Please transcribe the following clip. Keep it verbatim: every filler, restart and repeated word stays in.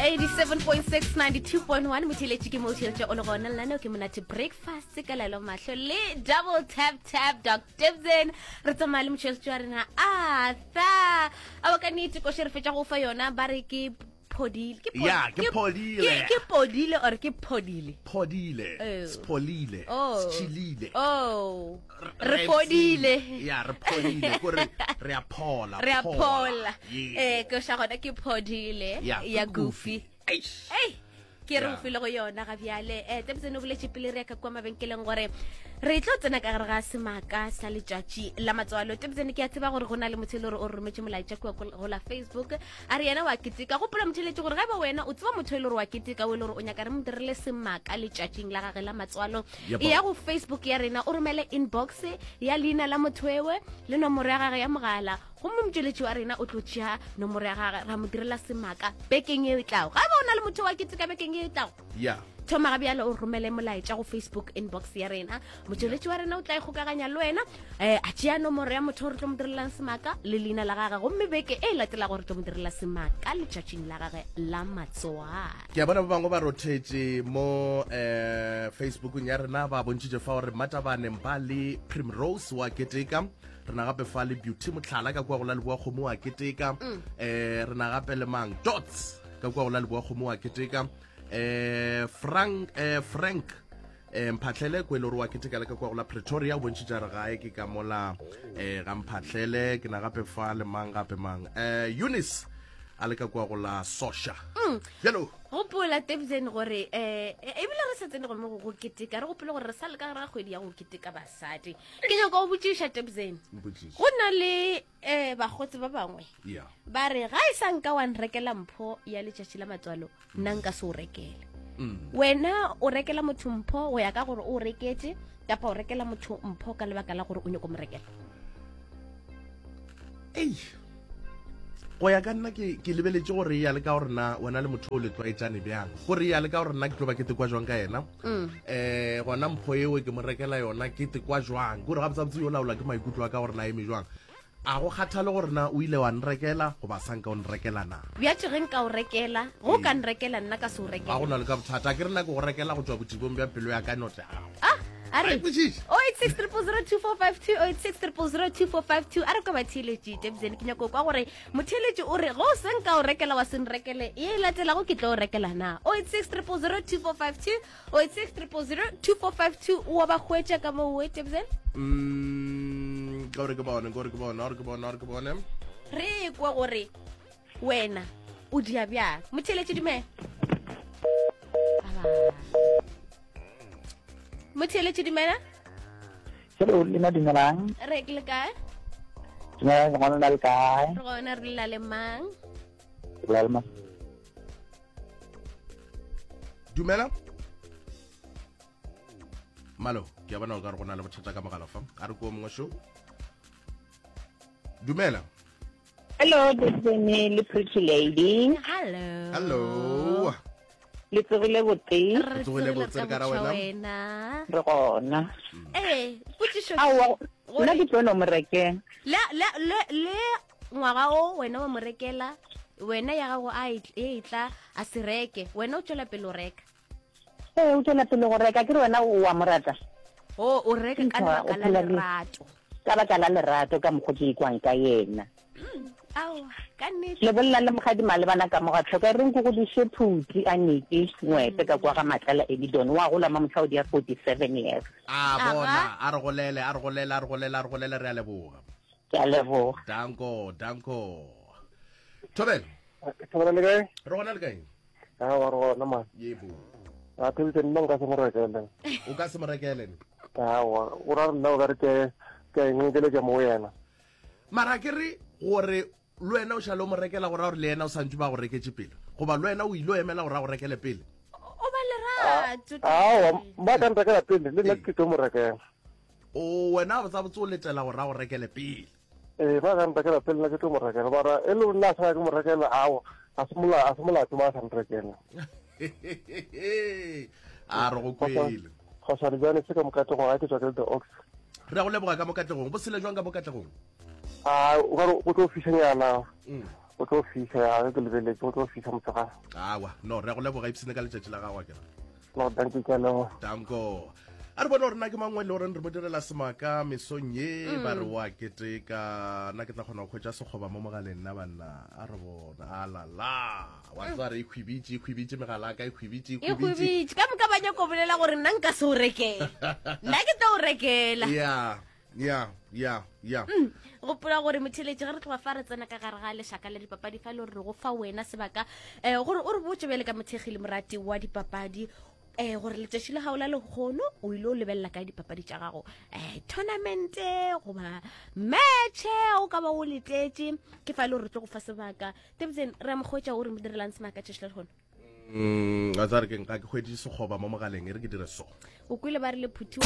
Eighty-seven point six, ninety-two point one. Motheletši ke mo theletše o le gona lenaneo ke monate breakfast ka lelo mahlo le double tap tap doc Dibson. Re tsamaya le motheletši wa rena Arthur. Awa ka nnete koše re fetša go fa yona ba re ke phodile. Ke Ya, ke phodile. Ke, ke podile or ke phodile? Phodile. Oh. Spholile. Oh. Schilile. Oh. Re phodile. Ya, re phodile. Kore re a phola. Re a phola. Yeah. Eh, koša gona ke phodile Ya, ya ke Goofy. Eish. Ei, ke re Ya. o file go yona ga bjale um tebtsene o boletše pele re ya ka kua mabenkeleng gore re tlo tsena ka gare ga semaka sa letšatši la matswalo tebtsene ke a tseba gore go na le motho e le gore o re rometše molaetša kua ko- go la facebook a re yena wa keteka gopola motheletše gore ga e ba wena o tseba motho e le gore wa keteka o e le gore o nyaka re mo dirile semaka letšatšing la gage la matswalo Yep. e ya go facebook ya rena o romele inbox ya leina la motho ewe le nomoro ya gage ya mogala gomme motšweletši wa rena o tlo tšea nomoro ya gage ra mo direla semaka bekeng e tlago ga eba o na le motho wa keteka bekeng e tlago Ya. thoma ga bjale o romele molaetša go facebook inbox ya rena motšweletši wa rena o tla ikgokaganya le wena um a tšea nomoro ya motho o re tlo mo direlang semaka le leina la gage gomme beke e latelago re tlo mo direla semaka letšatšing la gage la matswalo ke a bona ba bangwe ba rothetše mo um facebookong ya rena ba bontšhitše fa gore matabane ba le primrose wa keteka re na gape fa le beauty motlhala ka kua go la leboa kgomo wa keteka um re na gape le mang dots ka kua go la leboa kgomo wa keteka um frank eh, frank um mphatlhele ko e le gore wa keteka le ka kua go la pretoria o bontšhitša re gae ke ka mola um ga mphatlhele ke na gape fa le mang gape mang um eunice a le ka kua go la sosha bjalo gopola tebsen gore um ebile re sa tsene go mo go go keteka re gopole gore re sa le ka gare ga kgwedi ya go keteka basadi ke nyaka go botšiša tebsen Mpotšiše. go na le um bakgotsi ba bangwe ya ba re ga e sa nka wa nrekela mpho ya letšatši la matswalo nna nka se o rekele Mm. wena o rekela motho mpho go ya ka gore o reketše kapa o rekela motho mpho ka lebaka la gore o nyako mo rekela ei go ya ka nna ke ke lebeletše gore ya le ka gore na wena le motho o le tlwaetšane bjang gore ya le ka gore nna ke tlo ba ke tekwa jwang ka yena um gona mpho eo ke mo rekela yona ke tekwa jwang kore gabotsabotse yo laola ke maikutlo a ka gore na eme jwang a go kgathale gore na o ile wa nrekela goba sa nka o nrekela na bjatše ge nka o rekela go ka nrekela nna ka se o ga rekela go na le ka bothata a ke re nna ke go rekela go tswa botibong bja pelo ya ka note gago ah a re Ai, kwešiše. oh eight six triple zero two four five two oh eight six triple zero two four five two a re kwa batheeletši tebsen ke nyako kwa gore motheeletši o re go o se nka o rekela wa se nrekele ye e latelago ke tlo o rekela na oh eight six triple zero two four five two oh eight six triple zero two four five two o wa ba hwetša ka moo we tebsen Mm, ka gore ke bone ka gore ke bone gore ke bone gore ke bone re kwa gore wena o dia bjang motheeletši dumela motheeletši dumela Hello, lena dumelang. re ke le kae Dumelang, ngwana le kae? re gona re lela le mang Ke bolela le ma- dumela malo ke a bona o ka re go na le bothata ka mogala fa a re ko mongwe šo dumela Hello, Destiny le Pretty Lady. hello hello Le tsogile botse, re Tsogile tsogile botse, ka re ka ra botjha wena? wena re gona. ee potšišo Aowa, Gore- nna ke tlo no mo rekela. le le le le ngwaga o wena wa mo rekela wena ya gago a e e tla a se reke wena o tswela pele o reka Ee, o tswela pele go reka, ke re wena o wa mo rata. o o reka ka Ntho, lebaka o la phela le- lerato Ka baka la lerato ka mokgo ke ikwang ka yena. aowa ka nnete Le bolela le mogadi malebana ka moga tlhoka re nko go diše phuti a neke ngwepe ka kwa ga matlala Edidon wa gola ma motlhaodi ya forty-seven years. a Aga. bona a re golele a re golele a re golele a re golele re a leboga Ke a leboga. danko danko thobela Thobela le kae? re gona le kae Aowa, re gona man. yebo A thebitse nna nka se mo rekele. o ka se mo rekele ne Aowa, o ra re nna o ka re ke ke a ingekeletša mo go yena. mara ke re gore le wena o šale o mo rekela gore gore le yena o santse ba go reketše pele goba le wena o ile o emela gore a go rekele pele o ba lerato Aowa, ba ka nrekela pele le nna ke tlo mo rekela. o wena botsabotse o letela gore a go rekele pele Ee, ba ka nrekela pele nna ke tlo mo rekela. Mara e le nna a sa ke mo rekela, aowa, a se mola a se molato ma a sa nrekela. a re go kwele Kgosane bjane se ka mo Katlehong ga ke tswa ke le the ox. re a go leboga ka mo katlegong bo sele jwang ka mo katlegong A o ka re o tlo fišanyana. Mm. Go tlo fisa ya ge ke lebeletse go tlo fisa motshegare. Awa, no, re a go leboga ipsene ka letšatši la gago akere. No, dankie ke a leboga. Danko. A re bone gore na ke mangwe le goreng re mo direla semaka mesong ye ba re wa keteka nna ke tla kgona go hwetša sekgoba mo mogaleng nna banna a re bona a la la wa tseba re e khwibitše e khwibitše megala ka e khwibitše e khwibitše ka moka ba nyako bolela gore nna nka se o rekela nna ke tlo o rekela ya ya ya ya gopola gore motheletši ge re tloga fa re tsena ka gare ga lešaka la dipapadi fa e le gore re go fa wena sebaka um gore o re botse bjale ka mothekgi le morati wa dipapadi um gore letšatši la gago la lekgono o ile o lebelela kae dipapadi tša gago um tournamente goba matche o ka ba o letetše ke fa e le gore re tlo go fa sebaka tebotsen re a mokgwetša o re mo direlang semaka tšatši la lekgono Mm, a tsare ke nka ke hweditše sekgoba mo mogaleng e re ke dire so o kwele ba re le phuthiwa